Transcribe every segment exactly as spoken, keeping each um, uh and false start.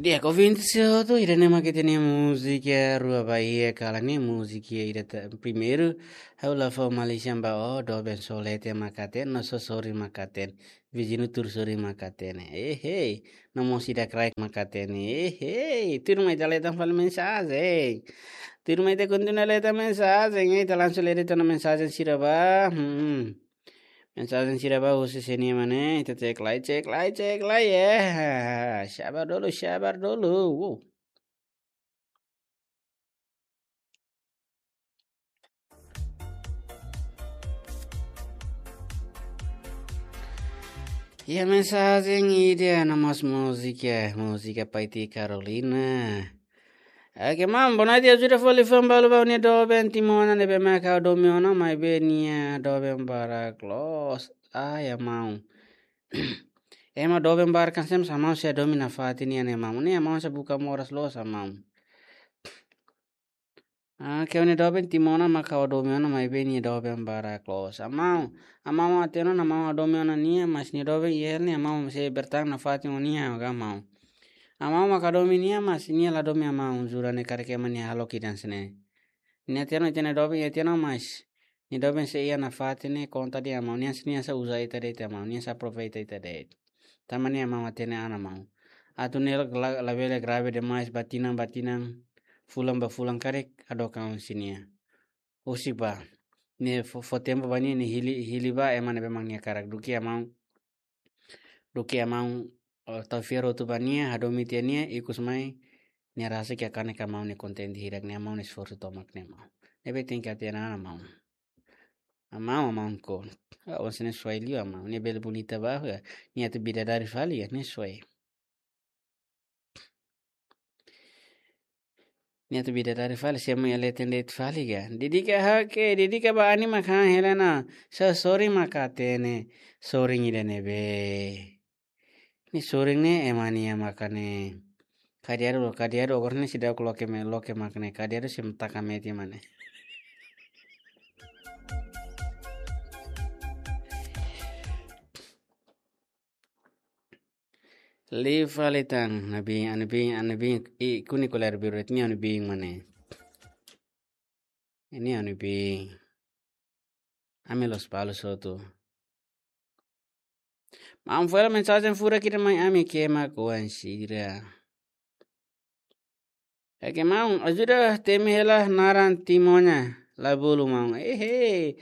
Di'ak, ouvinte sira hotu, ida-ne'e mak ita-nia múzika rua ba iha kalan ne'e, múzika ida ta-, primeiru, ha'u la fó malísia ba ó, doben só leten mak hatene, no só sorin mak hatene, viziñu tuur sorin mak hatene. Ehei, no mós ida kraik mak hatene. Ehei, tuirmai ita leten fali mensajen. Tuirmai ita kontinua leten mensajen, ita langsung lee de'it ona mensajen sira ba. Hmm. Mensajen sira ba husi sé-nia mak ne'e, ita cek lai, cek lai, cek lai, eh. Sabar dulu, sabar dulu. Wow. Iha mensajen ida no mós múzika, múzika Paiti Carolina. Oke, maun, boa noite, ajuda fó liafuan balu ba ó-nia doben timun ona ne'ebé mak ha'u hadomi ona, maibé nia doben barak loos. Ai, maun. Ema doben barak hanesan ne'e, maun sei hadomi nafatin nia ne'e, maun. Ne'e maun sei buka moras loos, maun. Ah, ke ó-nia doben timun ona mak ha'u hadomi ona, maibé nia doben barak loos. Maun, maun hatene ona, maun hadomi ona nia, mas nia doben iha ne'e, maun sei bertahan nafatin ho nia, ka maun. Maun mak hadomi nia, mas nia la hadomi maun, jura ne'e karik ema nia halo kidan sene. Nia hatene ita-nia doben, nia hatene, mas nia doben sei iha nafatin ne'e konta de'it maun, nia, nia sei uza ita de'it maun, nia sei aproveita ita de'it. Tanba ne'e maun hatene ona maun. Atu ne'e la, la, labele grave demais ba tinan ba tinan, fulan ba fulan karik hadook an husi nia. Husik ba. Ne'e fó, fó tempu ba nia, nia hili, hili ba ema ne'ebé mak nia hakarak, duké maun. Duké maun, eh, tau fiar hotu ba nia, hadomi tiha nia, ikus mai nia rasik kanek maun nia kontente hirak ne'e, maun esforsu tomak ne'e maun. Ne'ebé tenke hatene ona maun. Maun, maun ko. Ah, ó sene suai liu maun. Ne'e bele bonita ba, ya. Nia atu bidadari fali ya, ne'e suai. Nia atu bidadari fali, semo ya leten de'it fali ka. Dedika hake, dedika ba Ani mak han hela ona. Só sorin mak hatene, sorin ida ne'ebé. Ne'e sorin ne'e ema nia mak ne'e. Kadiaru, kadiaru, agora ne'e seidauk loke mai, loke mak ne'e. Kadiaru sei taka mete mak ne'e. Liu fali tan, Ani-biin, Ani-biin, Ani-biin, i kuni koler biru, ne'e Ani-biin mak ne'e. Ne'e Ani-biin. Ami loos balu hotu. Maun, fó hela mensajen furak ida mai ami, ke mak oan sira. Oke, maun, ajuda temi hela naran timun ona, la bolu maun. Ehe.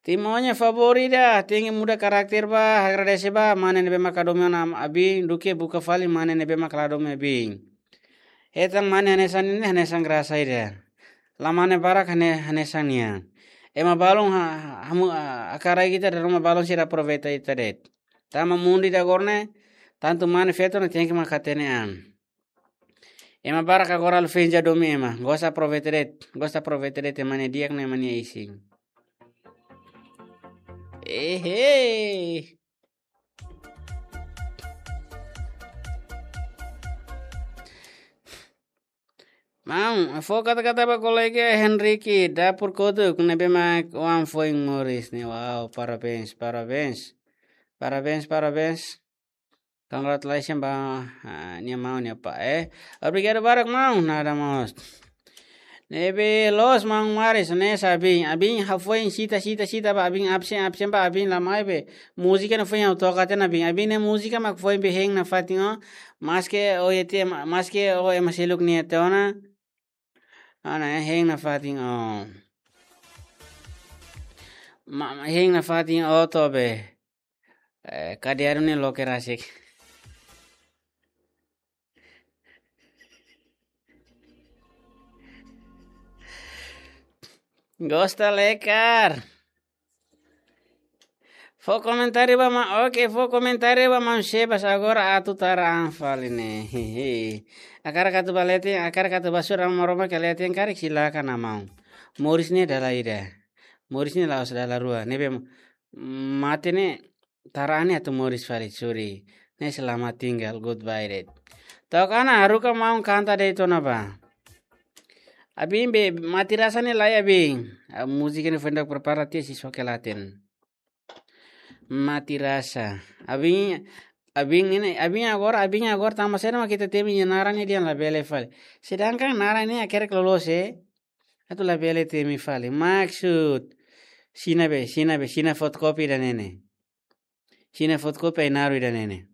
Timun ona favór ida, tenke muda karakter ba, agradese ba mane ne'ebé mak hadomi ona abiin, duké buka fali mane ne'ebé mak la hadomi abiin. Hetan mane hanesan ne'e, hanesan grasa ida. La mane barak hane-, hanesan nia. Ema balun ha-, ha-, hamu, ah, hakarak ita de'it, ema balun sira aproveita ita de'it. Tanba mundu ida agora ne'e, tantu mane feto ne'e tenke mak hatene an. Ema barak agora halo festa hadomi ema. Gosta aproveita de'it, gosta aproveita de'it ema nia di'ak no ema nia isin. Ehe. Maun, fó kata-kata ba kolega Henrique, dapur kotuk, ne'ebé mak oan foin moris ne'e. Wow, parabéns, parabéns. Parabéns, parabéns. Congratulations ba, ah, nia maun, nia apá, eh. Obrigadu barak maun, nada mós. Ne'ebé loos maun Maris, hanesan abiin, abiin hafoin sita, sita, sita ba, abiin absen, absen ba, abiin la mai be. Múzika ne'e foin ha'u toka tiha ona abiin. Abiin ne'e múzika mak foin be hein nafatin ó. Maske ó ete, ma-, maske ó ema seluk nia tiha ona. Ona, eh, hein nafatin ó. Ma, ma, hein nafatin ó to'o be. Eh, kadiaru ne'e loke rasik. Gosta lekar. Fó komentáriu ba maun, oke, fó komentáriu ba maun Sebas, agora atu tara an fali ne'e. Hehe. Hakarak atu ba leten, hakarak atu ba sura maromak ka leten karik silakan maun. Moris ne'e dala ida. Moris ne'e la'ós dala rua. Ne'ebé mate ne'e tara an ne'e atu moris fali, sorry. Ne'e selamat tinggal, goodbye de'it. To'o ona, haruka maun kanta de'it ona ba. Abiin be, mati rasa ne'e lai abiin. Ah, múzika ne'e foin ita prepara tiha, sei soke laten. Mati rasa. Abiin, Abin ne'e, abin agora, abin agora tanba saida mak ita temi nia naran ne'e dehan labele fali. Sedangkan naran ne'e hakerek loloos, eh? Atu labele temi fali. Maksud. Sina be, sina be, sina fotokopi ida-ne'e ne'e. Sina fotokopi Ainaro ida-ne'e ne'e.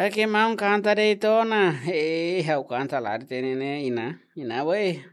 Oke, maun kanta de'it ona. Eh, ha'u kanta la hatene ne'e, Iná. Iná, woi.